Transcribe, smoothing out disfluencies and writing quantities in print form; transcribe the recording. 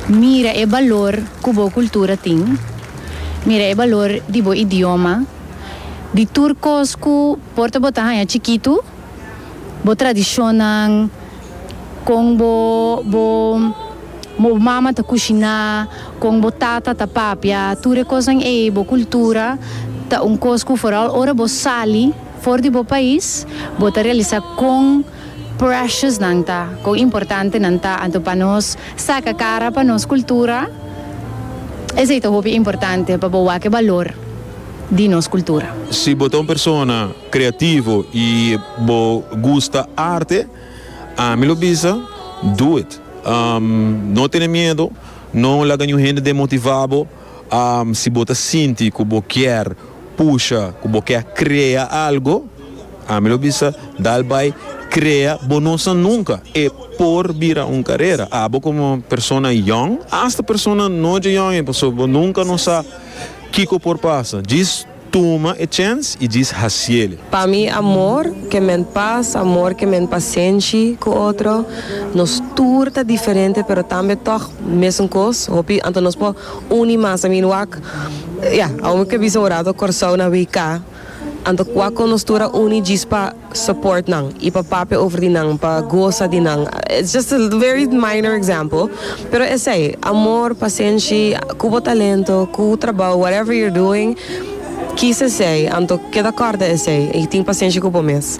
Mira e balor ku bo kultura tin, mira e balor di bo idioma, di tur kos ku por ta bo ta haña chikitu, bo tradishonnan, kon bo bo bo mama ta kushiná, kon bo tata ta papia, tur e kosnan ei, bo kultura ta un kos ku foral ora bo sali for di bo pais, bo ta realisá kon precious nan ta, kon importante nan ta. Anto pa nos saka kara pa nos kultura, esei ta hopi importante pa bo wak e balor di nos kultura. Si bo ta un persona kreativo i bo gusta arte, ami lo bisa, do it. No tene miedo, no laga niun hende demotivá bo. Si bo ta sinti ku bo kier pusha, ku bo kier krea algo, ami lo bisa, dal bai krea, bo no sa nunka e por bira un karera. Abo komo persona yòn, asta persona no dje yòn ei, pasobra bo nunka no sa kiko por pasa. Djis tuma e chèns i djis hasiel. Pa mi amor ke men pas, amor ke men pasenshi ku otro. Nos tur ta diferente pero tambe tòg mesun kos. Hopi anto nos por uni mas. I mean wak, ya, awor mi ke bisa un rato Kòrsou na WK. Anto wak kon nos tur a uni djis pa support nan i pa papia over di nan, pa gosa di nan. It's just a very minor example, pero esei, amor, pasenshi, ku bo talento, ku trabou, whatever you're doing, kis esei, anto keda kòrda esei i tin pasenshi ku bo mes.